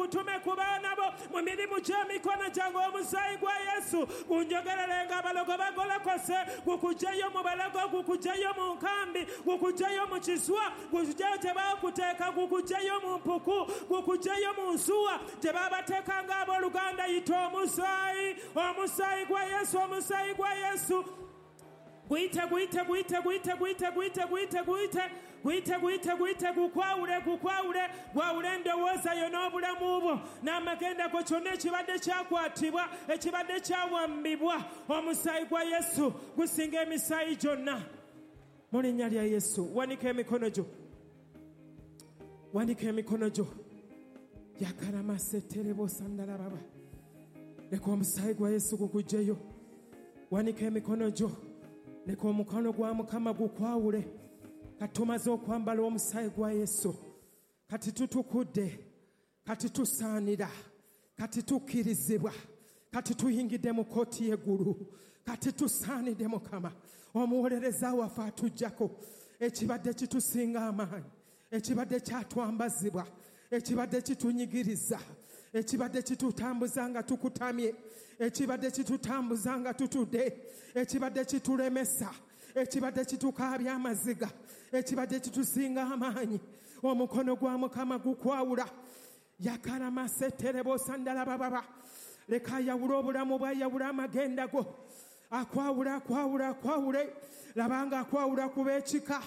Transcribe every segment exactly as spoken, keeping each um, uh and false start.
Gugutume ku baana bo mu mirimu gy'emikono gyange. Omusaayi gwa Yesu gunjogerere nga abalogo bagolokose, gukugyeyo mu balago, gukugyeyo mu nkambi, gukugyeyo mu kiswa, gukugyeyo gye baakuteeka, gukugyeyo mu mpuku, gukugyeyo mu nsuwa gye baabateeka ng'abooluganda. Yita omusaayi, omusaayi gwa Yesu, omusaayi gwa Yesu. Guyite, guyite, guyite, guyite, guyite, guyite, guyite, guyite, guyite, guyite, guyite, gukwawule, gukwawule, gwawule endowooza yo n'obulamu bwo n'amagenda go, kyonna ekibadde kyakwatibwa, ekibadde kyawambibwa. Omusaayi gwa Yesu gusinga emisaayi gyonna. Mu linnya lya Yesu, wanika emikono gyo, wanika emikono gyo. Yakalamaseterebosandarababa. Leka omusaayi gwa Yesu gukugyeyo. Wanika emikono gyo. Leka omukono gwa Mukama gukwawule. Kati tumaze okwambala omusaayi gwa Yesu, kati tutukudde, kati tusaanira, kati tukkirizibwa, kati tuyingidde mu kkooti y'eggulu, kati tusaanidde Mukama. Omuwolereza waffe atuggyako ekibadde kitusinga amaanyi, ekibadde kyatwambazibwa, ekibadde kitunyigiriza, ekibadde kitutambuza nga tukutamye, ekibadde kitutambuza nga tutudde, ekibadde kitulemesa, ekibadde kitukaabya amaziga, ekibadde kitusinga amaanyi. Omukono gwa Mukama gukwawula. Yakalamaseterebosandarababa. Leka ayawule obulamu bwe, ayawule amagenda go. Akwawula, akwawula, akwawule. Labanga akwawula ku b'ekika,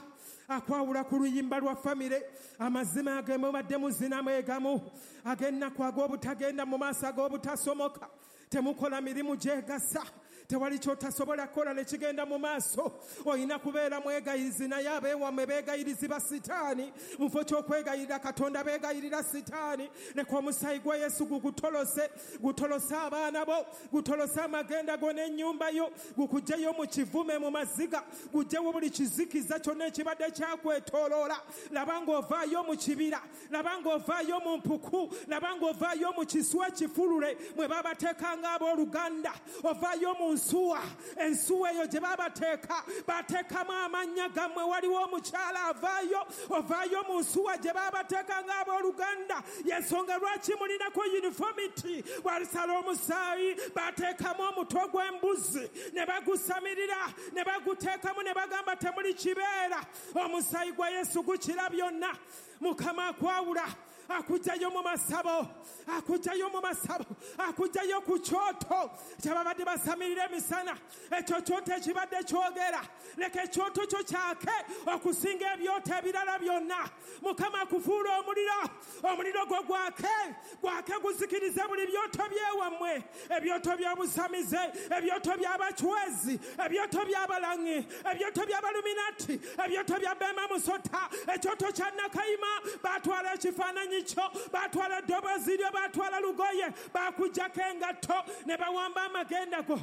akwawula ku luyimba lwa famire. Amazima ge mubadde muzinamu egamu, ag'ennaku, ag'obutagenda mu maaso, ag'obutasomoka. Temukola mirimu gyegasa, tewali kyotasobola kukola ne kigenda mu maaso. Olina kubeera mwegayirizi, naye abeewammwe beegayirizi ba sitaani. Mu kifo ky'okwegayirira Katonda, beegayirira sitaani. Leka omusaayi gwa Yesu gugutolose, gutolose abaana bo, gutolose amagenda go n'ennyumba yo, gukuggyeyo mu kivume, mu maziga, guggyewo buli kizikiza kyonna ekibadde kyakwetooloola. Laba ng'ovaayo mu kibira, laba ng'ovaayo mu mpuku, laba ng'ovaayo mu kiswa ekifulule mwe babateeka ng'abooluganda. Ovaayo mu nsuwa, ensuwa eyo gye babateeka, bateekamu amannya gammwe. Waliwo omukyala avaayo, ovaayo mu nsuwa gye babateeka ng'abooluganda. Y'ensonga lwaki mulinako uniformity. Walisala omusaayi, bateekamu omutwe gw'embuzi ne bagusamirira ne baguteekamu ne bagamba temuli kibeera. Omusaayi gwa Yesu gukira byonna. Mukama akwawula, akugyayo mu masabo, akugyayo mu masabo, akugyayo ku kyoto kyababadde basamirira emisana. Ekyo kyoto ekibadde kyogera, leka ekyoto kyo kyake okusinga ebyoto ebirala byonna. Mukama akufuula omuliro, omuliro gwo gwake, gwake guzikirize buli byoto byewammwe, ebyoto by'obusamize, ebyoto by'abacwezi, ebyoto by'abalangi, ebyoto by'abaluminati, ebyoto bya Bema Musota, ekyoto kya Nakayima. Batwala ekifaananyi kyo, batwala eddoboozi lyo, batwala lugoye, bakuggyako engatto ne bawamba amagenda go.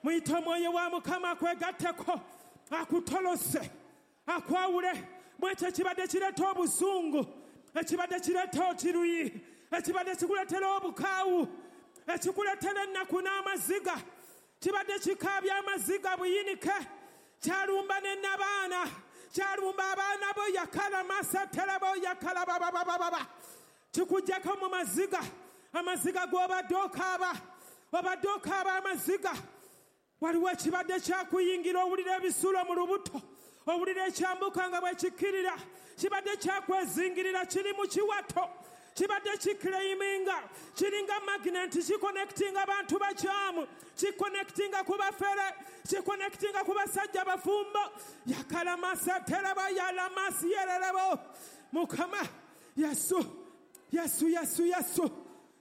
Muyite omwoyo wa Mukama akwegatteko, akutolose, akwawule mwekyo ekibadde kireeta obusungu, ekibadde kireeta okiruyi, ekibadde kikuleetera obukaawu, ekikuleetera ennaku n'amaziga, kibadde kikaabya amaziga buyinike, kyalumba ne nabaana, kyalumba abaana bo. Yakalamasaterebo yakalababababa. Kikuggyako mu maziga, amaziga g'obadde okaaba, obadde okaaba amaziga. Waliwo ekibadde kyakuyingira, owulira ebisulo mu lubuto, owulira ekyambuka nga bwe kikkirira, kibadde kyakwezingirira, kiri mu kiwato, kibadde kiclaiminga, kiringa magnet, kiconnectinga abantu bakyamu, kiconnectinga ku bafere, kiconnectinga ku basajja bafumbo. Yakalamasaterebo yalamasiyererebo. Mukama Yesu, Yesu, Yesu, Yesu,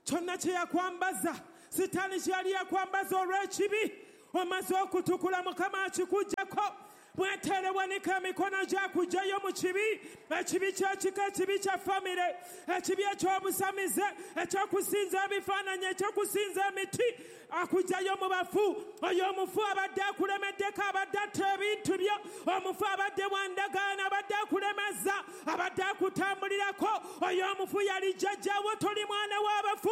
kyonna kye yakwambaza sitaani kye yali yakwambaza olw'ekibi, omaze okutukula, Mukama akikuggyako. Bwetere wanika emikono gyakugyayo mu kibi, ekibi ky'ekika, ekibi kya famire, ekibi eky'obusamize, ekyokusinza ebifaananyi, ekyokusinza emiti. Akugyayo mu bafu. Oyo omufu abadde akulemeddeko, abadde atta ebintu byo, omufu abadde wandagaana, abadde akulemeza, abadde akutambulirako. Oyo omufu yali jjajjaawo, toli mwana w'abafu.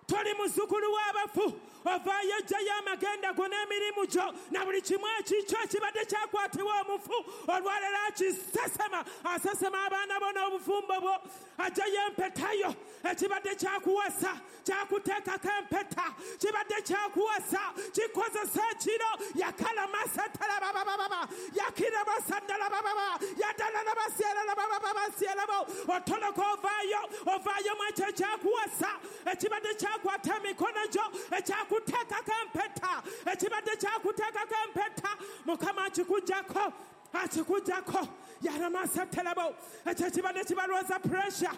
Toli muzzukulu w'abafu, ovaayo ojjayo amagenda go n'emirimu gyo na buli kimu ekikyo ekibadde kyakwatibwa omufu. Olwaleero akisesema, asesema abaana bo n'obufumbo bwo. Ajjayo empeta yo, ekibadde kyakuwasa kyakuteekako empeta, kibadde kyakuwasa kikozesa ekiro. Yakalamasatalababaaba yakirabasandalabababa yadalalabasieralabababasierabo. Otoloka ovaayo, ovaayo mu ekyo ekyakuwasa ekibadde kyakwata emikono gyo, ekyakuteekako empeta, ekibadde kyakuteekako empeta. Mukama akikugjako, akikugjako. Yaramasatalabo. Ekyo ekibadde kibalwaza pressure,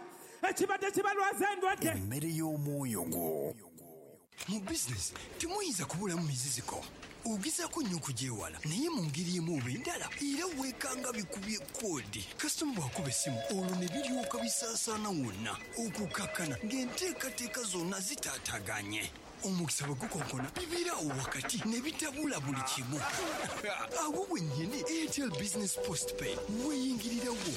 ekibadde kibalwaza endwadde. Emmere y'omwoyo gwo. Mu bizinesi temuyinza kubulamu miziziko. Ogezaako nnyo okugyewala, naye mu ngeri emu oba endala era weekanga bikubye koodi. Kasitoma bw'akuba essimu olwo ne biryoka bisaasaana wonna, okukakkana ng'enteekateeka zonna zitaataganye. Omukisa bwe gukonkona bibeera awo wakati ne bitabula buli kimu. Awo wennyini Airtel Business Postpaid weeyingirirawo.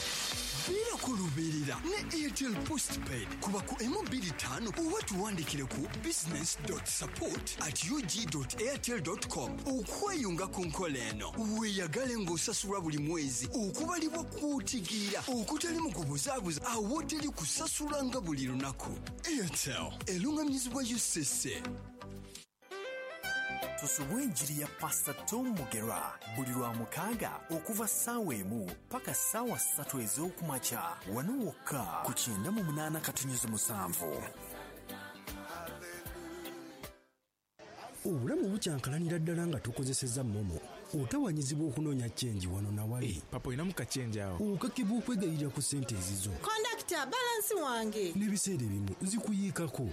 Beerako lubeerera ne Airtel Postpaid. Kuba ku emu bbiri ttaano oba tuwandikire ku business dot support at ug dot airtel dot com okweyunga ku nkola eno. Weeyagale ng'osasulwa buli mwezi okubalibwa kw'otegeera okutali mu kubuzaabuza awoteri kusasula nga buli lunaku. Airtel eruŋŋamizibwa U C C. Tusubwe enjiri ya Pastor Tom Mugera buli lwa mukaaga okuva ssaawa emu paka ssaawa ssatu ez'okumakya wano wokka ku kyenda mu munaana katonnyeze musanvu. Obulamu bukyankalanira ddala nga tukozesezza MoMo. Otawanyizibwa okunoonya chenji wano na wali. Hey, papa olinamu kachenji awo. Okakibwa okwegayirira ku ssente ezizo. Kondakita, balansi wange. N'ebiseera ebimu zikuyiikako,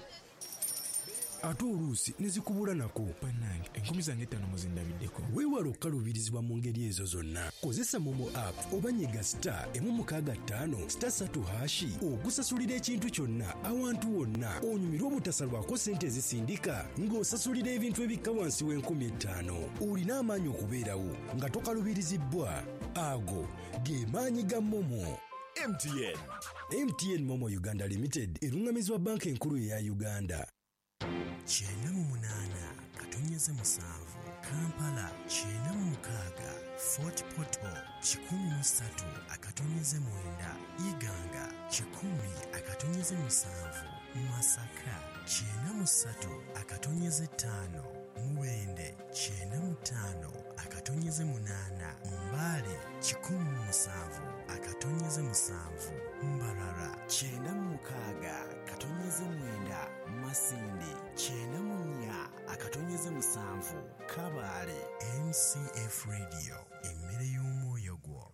ate oluusi ne zikubula nako. Bannange, enkumi zange ttaano muzindabiddeko. Weewale okukaluubirizibwa mu ngeri ezo zonna. Kozesa MoMo app oba nyiga star emu mukaaga ttaano star ssatu hashi okusasulira ekintu kyonna awantu wonna. Onyumirwe obutasalwako ssente ezisindika ng'osasulira ebintu ebikka wansi w'enkumi ettaano. Olina amaanyi okubeerawo nga tokaluubirizibbwa. Ago ge maanyi ga MoMo. M T N. M T N MoMo Uganda Limited eruŋŋamizibwa Banka Enkulu eya Uganda. Kyenda mu munaana katonnyeze musanvu Kampala, kyenda mu mukaaga Fort Portal, kikumi mu ssatu akatonnyeze mwenda Iganga, kikumi akatonnyeze musanvu Masaka, kyenda mu ssatu akatonnyeze ttaano Mubende, kyenda mu ttaano akatonnyeze munaana Mbale, kikumi mu musanvu akatonnyeze musanvu Mbarara, kyenda mu mukaaga katonnyeze mwenda Masindi, kyenda mu nnya akatonyeze musanvu Kabale. M C F Radio, emmere y'omwoyo gwo.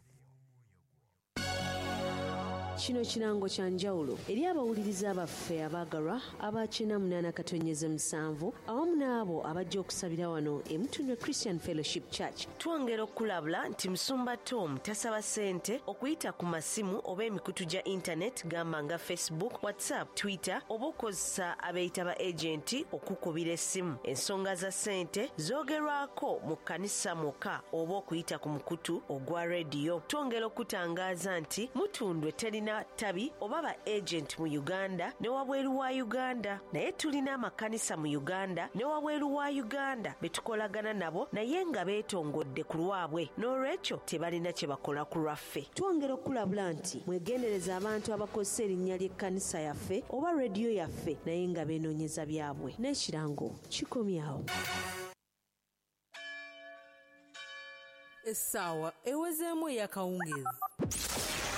Kino kirango kya njawulo eri abawuliriza baffe abaagalwa aba kyenda munaana katonnyeze musanvu awamu n'abo abajja okusabira wano e Mutundwe Christian Fellowship Church. Twongera okulabula nti Musumba Tom tasaba ssente okuyita ku masimu oba emikutu gya internet gamba nga Facebook, WhatsApp, Twitter oba okozesa abeeyita ba agenti okukubira essimu. Ensonga za ssente zoogerwako mu kkanisa mwokka oba okuyita ku mukutu ogwa rediyo. Twongera okutangaaza nti Mutundwe terina tabi oba ba agent mu Uganda ne wabweru wa Uganda, naye tulina amakanisa mu Uganda ne wabweru wa Uganda betukolagana nabo naye nga beetongodde ku lwabwe, n'olwekyo tebalina kye bakola ku lwaffe. Twongera okulabula nti mwegendereza abantu abakozesa erinnya ly'ekkanisa yaffe oba rediyo yaffe naye nga beenoonyeza byabwe. N'ekirango kikomyawo. Essaawa ewezeemu ey'akawungeezi.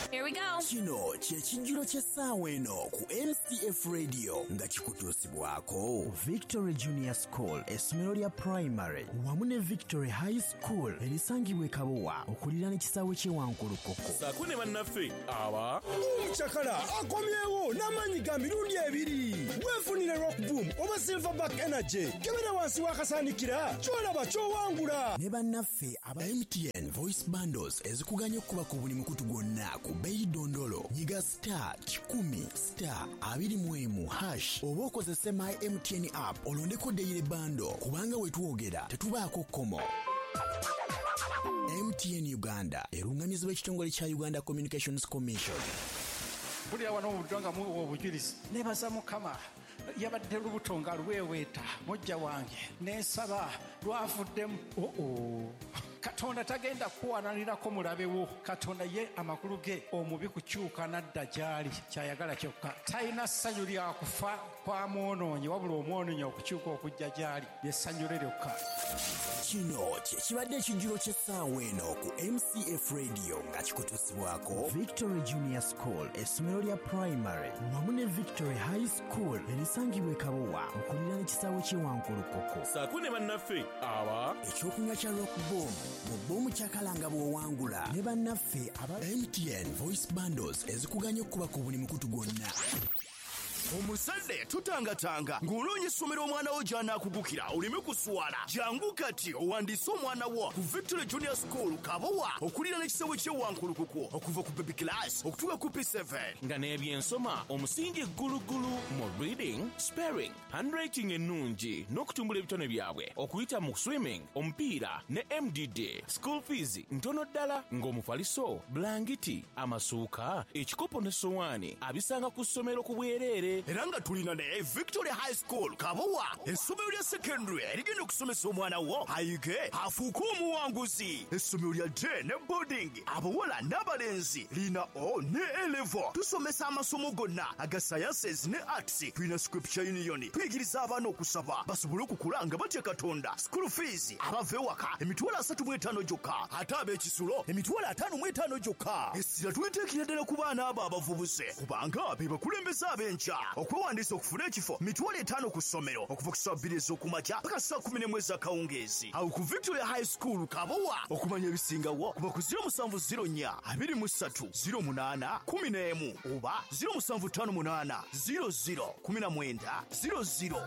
Here we go. Kino kye kijjulo ky'essaawa eno ku M C F Radio nga kikutuusibwako Victory Junior School, essomero lya primary wamu ne Victory High School erisangibwa e Kabowa okuliraana ekisaawe ky'e Wankulukuku. Ssaako ne bannaffe aba Omucakala akomyewo n'amaanyi ga mirundi ebiri. Weefunire Rock Boom oba Silverback Energy. Kebera wansi w'akasaanikira ky'olaba ky'owangula. Ne bannaffe aba M T N Voice Bundles ezikuganya okuba ku buli mukutu gwonna ku bbeeyi dondolo. Nyiga star kikumi star abiri mu emu hash oba okozese My M T N app olondeko daily bundle kubanga we twogera tetubaako kkomo. M T N Uganda erungamizibwa ekitongole kya Uganda Communications Commission. Mpulira wano obudde nga muwa obujulizi. Neebaza Mukama Yabadde lubuto nga lweweeta mujja wange nensaba lwavuddemu. Oo, Katonda tagenda kuwalanirako mulabewo. Katonda ye amakulu ge omubi kukyuka nadda gy'ali, kyayagala kyokka. Talina ssanyu lya kufa kwa mwonoonyi, wabula omwonoonyi okukyuka okujja gy'ali lyessanyu lye lyokka. Kino kye kibadde ekijjulo ky'essaawa eno ku M C F Radio nga kikutuusibwako Victory Junior School, essomero lya primary wamu ne Victory High School erisangibwa e Kabowa okuliraana ekisaawe ky'e Wankulukuku. Saako ne bannaffe aba ekyokunywa kya Rock Boom mu bbomu kyakalanga bw'owangula ne bannaffe aba M T N Voice Bundles ezikuganya okukuba ku buli mukutu gwonna. Omuzadde tutangatanga ng'onoonya essomero omwana wo gy'anaakugukira oleme kuswala. Jangu kati owandiise omwana wo ku Victory Junior School Kabowa okuliraana ekisaawe ky'e Wankulukuku okuva ku baby class okutuuka ku P seven. Nga n'ebyensoma omusingi ggulugulu mu reading, spelling, handwriting ennungi n'okutumbula ebitone byabwe okuyita mu swimming, omupiira ne M D D. School fees ntono ddala ng'omufaliso, bulangiti, amasuuka, ekikopo ne sowaani abisanga ku ssomero ku bwereere. Era nga tulina ne Victory High School Kabowa, essomero lya secondary erigenda okusomesa omwana wo ayige afuuke omuwanguzi. Essomero lya day ne boarding, abawala n'abalenzi, lina O ne A level. Tusomesa amasomo gonna aga sciences ne arts. Tulina Scripture Union, tuyigiriza abaana okusaba basobole okukula nga batya Katonda. School fees abava ewaka emitwalo asatu mu etaano gyokka, ate ab'ekisulo emitwalo ataano mu etaano gyokka. Essira tuliteekera ddala ku baana abo abavubuse kubanga be bakulembeze ab'enkya. Okwewandiisa okufuna ekifo mitwalo etaano ku ssomero okuva ku ssaawa bbiri ez'okumakya paka ssaawa kumi n'emu ez'akawungeezi. Awo ku Victoria High School Kabowa. Okumanya ebisingawo kuba ku ziro musanvu ziro nnya abiri mu ssatu ziro munaana kumi n'emu oba ziro musanvu ttaano munaana ziro ziro kumi na mwenda ziro ziro.